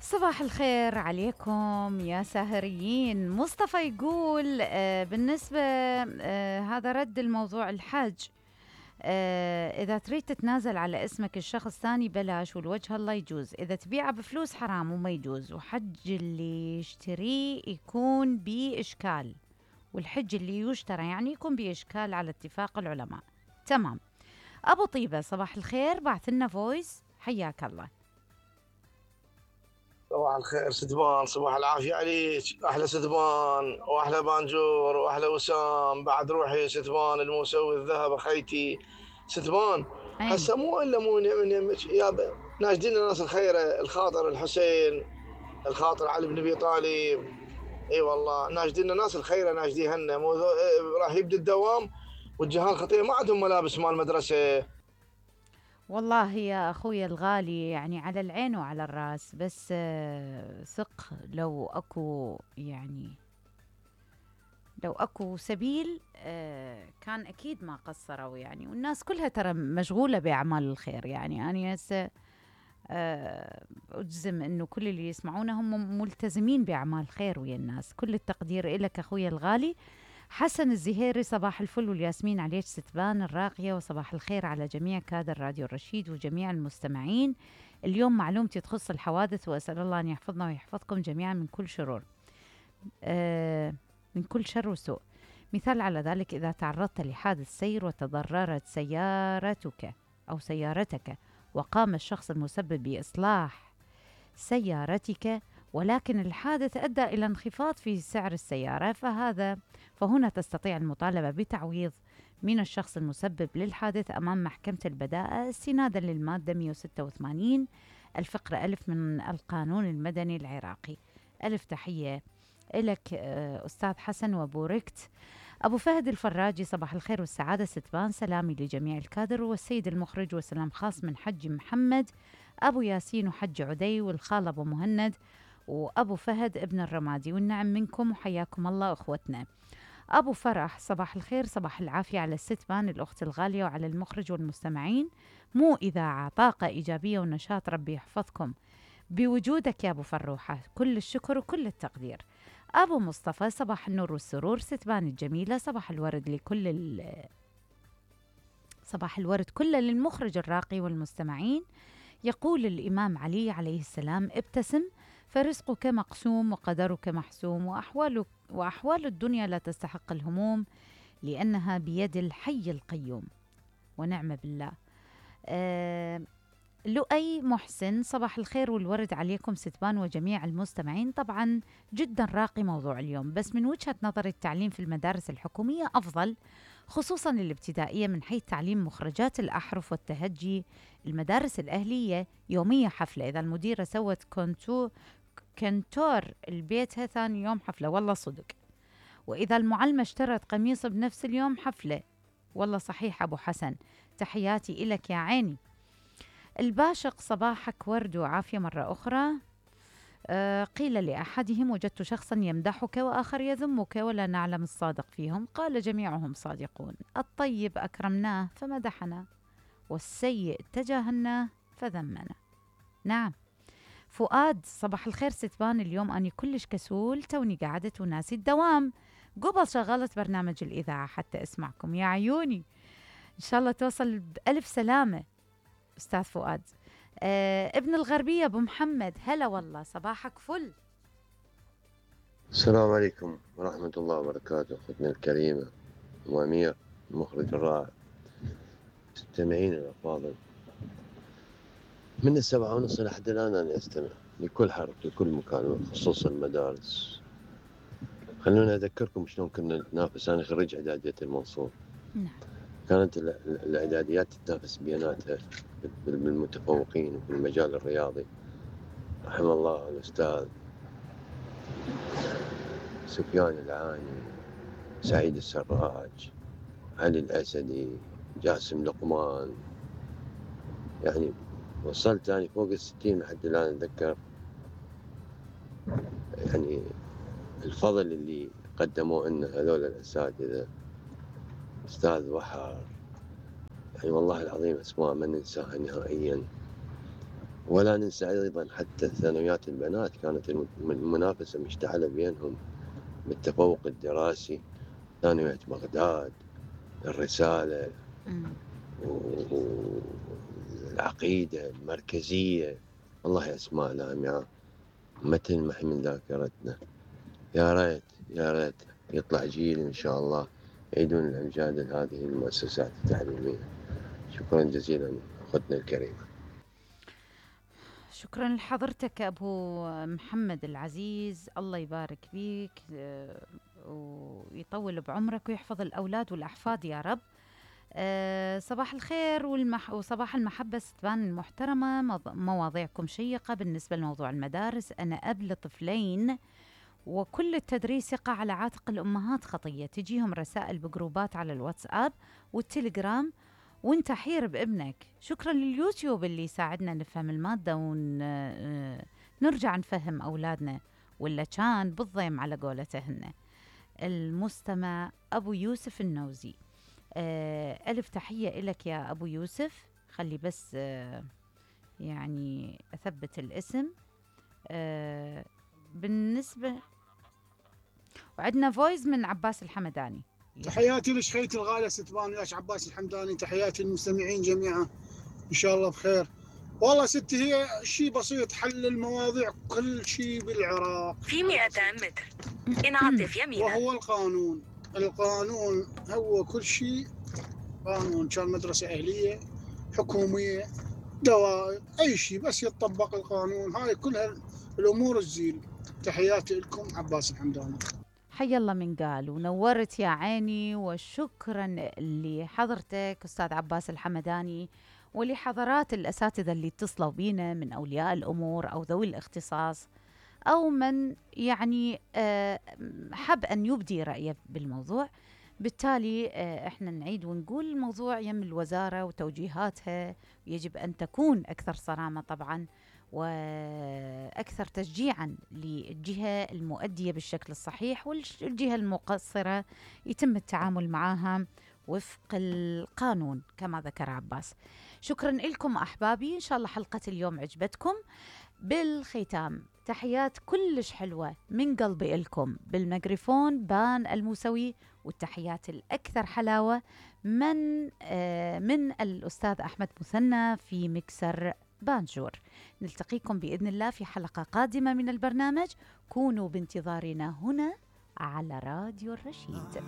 صباح الخير عليكم يا ساهريين. مصطفى يقول بالنسبة هذا رد الموضوع الحج. إذا تريد تتنازل على اسمك الشخص ثاني بلاش، والوجه الله يجوز. إذا تبيعه بفلوس حرام وما يجوز، وحج اللي يشتريه يكون بإشكال، والحج اللي يشترى يعني يكون بإشكال على اتفاق العلماء. تمام. أبو طيبة صباح الخير، بعث لنا فويس، حياك الله. صباح الخير ستبان، صباح العافية عليك. أحلى ستبان وأحلى بانجور وأحلى وسام. بعد روحي ستبان المسوي الذهب أخيتي ستبان. أين؟ هسه مو إلا مو من يمك يا ناشدين الناس الخيرة، الخاطر الحسين، الخاطر علي بن أبي طالب. اي والله ناشدين الناس الخيرة، ناشديهن مو راح يبدأ الدوام والجهال خطير، ما عندهم ملابس مال مدرسة. والله يا أخوي الغالي، يعني على العين وعلى الراس، بس ثق لو أكو لو أكو سبيل كان أكيد ما قصروا يعني. والناس كلها ترى مشغولة بأعمال الخير. يعني أنا هسه أجزم أنه كل اللي يسمعونه هم ملتزمين بأعمال خير ويا الناس. كل التقدير إلك أخوي الغالي. حسن الزهيري صباح الفل والياسمين عليك ستبان الراقية، وصباح الخير على جميع كادر راديو الرشيد وجميع المستمعين. اليوم معلومتي تخص الحوادث، وأسأل الله أن يحفظنا ويحفظكم جميعا من كل شرور، من كل شر وسوء. مثال على ذلك: إذا تعرضت لحادث سير وتضررت سيارتك أو سيارتك، وقام الشخص المسبب بإصلاح سيارتك، ولكن الحادث أدى إلى انخفاض في سعر السيارة، فهنا تستطيع المطالبة بتعويض من الشخص المسبب للحادث أمام محكمة البداءة استنادا للمادة 186 الفقرة ألف من القانون المدني العراقي. ألف تحية إلك أستاذ حسن وبوركت. أبو فهد الفراجي صباح الخير والسعادة ستبان، سلامي لجميع الكادر والسيد المخرج، وسلام خاص من حج محمد أبو ياسين وحج عدي والخال أبو مهند وأبو فهد ابن الرمادي، والنعم منكم وحياكم الله أخوتنا. أبو فرح صباح الخير، صباح العافية على الستبان الأخت الغالية وعلى المخرج والمستمعين. مو إذاعة، طاقة إيجابية ونشاط، ربي يحفظكم بوجودك يا أبو فروحة، كل الشكر وكل التقدير. أبو مصطفى صباح النور والسرور ستبان الجميلة، صباح الورد صباح الورد كله للمخرج الراقي والمستمعين. يقول الإمام علي عليه السلام: ابتسم فرزقك مقسوم وقدرك محسوم، وأحوال الدنيا لا تستحق الهموم، لأنها بيد الحي القيوم، ونعم بالله. لؤي محسن صباح الخير والورد عليكم ستبان وجميع المستمعين. طبعا جدا راقي موضوع اليوم، بس من وجهة نظر التعليم في المدارس الحكومية أفضل، خصوصا الابتدائية، من حيث تعليم مخرجات الأحرف والتهجي. المدارس الأهلية يومية حفلة، إذا المديرة سوت كنتور البيتها ثاني يوم حفلة، والله صدق. وإذا المعلمة اشترت قميص بنفس اليوم حفلة، والله صحيح أبو حسن، تحياتي إلك يا عيني. الباشق صباحك ورد وعافية مرة أخرى. قيل لأحدهم: وجدت شخصا يمدحك وآخر يذمك ولا نعلم الصادق فيهم. قال: جميعهم صادقون، الطيب أكرمناه فمدحنا، والسيء تجاهلناه فذمنا. نعم. فؤاد صباح الخير ستبان، اليوم أني كلش كسول، توني قعدت وناسي الدوام، قبل شغلت برنامج الإذاعة حتى أسمعكم يا عيوني. إن شاء الله توصل بألف سلامة أستاذ فؤاد. ابن الغربية أبو محمد، هلا والله، صباحك فل. السلام عليكم ورحمة الله وبركاته. أختنا الكريمة وأمير المخرج الرائع، مستمعين الأفاضل، من 7:30 لحد الآن أنا أستمع لكل حرف لكل مكان، خصوصا المدارس. خلونا أذكركم شلون كنا نتنافس. أنا خريج إعدادية المنصور. كانت الإعداديات تتنافس بيناتها بالمتفوقين في المجال الرياضي. رحم الله الأستاذ سفيان العاني، سعيد السراج، علي الأسدي، جاسم لقمان. يعني وصلت أنا فوق 60 لحد الآن أتذكر. يعني الفضل اللي قدموه لنا هذول الأساتذة، أستاذ وحر، يعني والله العظيم أسماء ما ننساها نهائيا. ولا ننسى أيضا حتى ثانويات البنات كانت المنافسة مشتعلة بينهم بالتفوق الدراسي، ثانوية بغداد، الرسالة، والعقيدة، المركزية، والله أسماء لامعة ما تلمح من ذاكرتنا. يا ريت يطلع جيل إن شاء الله يعيدون الأمجاد لهذه المؤسسات التعليمية. شكرا جزيلا أختنا الكريمة. شكرا لحضرتك أبو محمد العزيز، الله يبارك فيك ويطول بعمرك ويحفظ الأولاد والأحفاد يا رب. صباح الخير وصباح المحبة ستبان المحترمة، مواضيعكم شيقة. بالنسبة لموضوع المدارس، أنا أب لطفلين وكل التدريس يقع على عاتق الأمهات خطية، تجيهم رسائل بجروبات على الواتساب والتليجرام وانت حير بابنك. شكرا لليوتيوب اللي يساعدنا نفهم المادة ونرجع نفهم أولادنا، ولا كان بالضيم على قولتهن. المستمع أبو يوسف النوزي. ألف تحية إلك يا أبو يوسف. خلي بس يعني أثبت الاسم. بالنسبة وعندنا فويز من عباس الحمداني. تحياتي لشخيتي الغالية ستبان وياش عباس الحمداني، تحياتي للمستمعين جميعا إن شاء الله بخير. والله ستي هي شيء بسيط، حل المواضيع كل شيء بالعراق في 200 متر انعطف يمينا، وهو القانون هو كل شيء. قانون كان مدرسة أهلية حكومية دوائر أي شيء بس يتطبق القانون، هاي كلها الأمور الزين. تحياتي لكم عباس الحمداني. حي الله من قال ونورت يا عيني، وشكرا لحضرتك أستاذ عباس الحمداني ولحضرات الأساتذة اللي اتصلوا بينا من أولياء الأمور أو ذوي الاختصاص أو من يعني حب أن يبدي رأيه بالموضوع. بالتالي احنا نعيد ونقول الموضوع يم الوزارة وتوجيهاتها، يجب أن تكون أكثر صرامة طبعا وأكثر تشجيعا للجهة المؤدية بالشكل الصحيح، والجهة المقصرة يتم التعامل معها وفق القانون كما ذكر عباس. شكرا لكم أحبابي، إن شاء الله حلقة اليوم عجبتكم. بالختام تحيات كلش حلوة من قلبي لكم، بالميكروفون بان الموسوي، والتحيات الأكثر حلاوة من الأستاذ أحمد مثنى في مكسر بانجور. نلتقيكم بإذن الله في حلقة قادمة من البرنامج، كونوا بانتظارنا هنا على راديو الرشيد.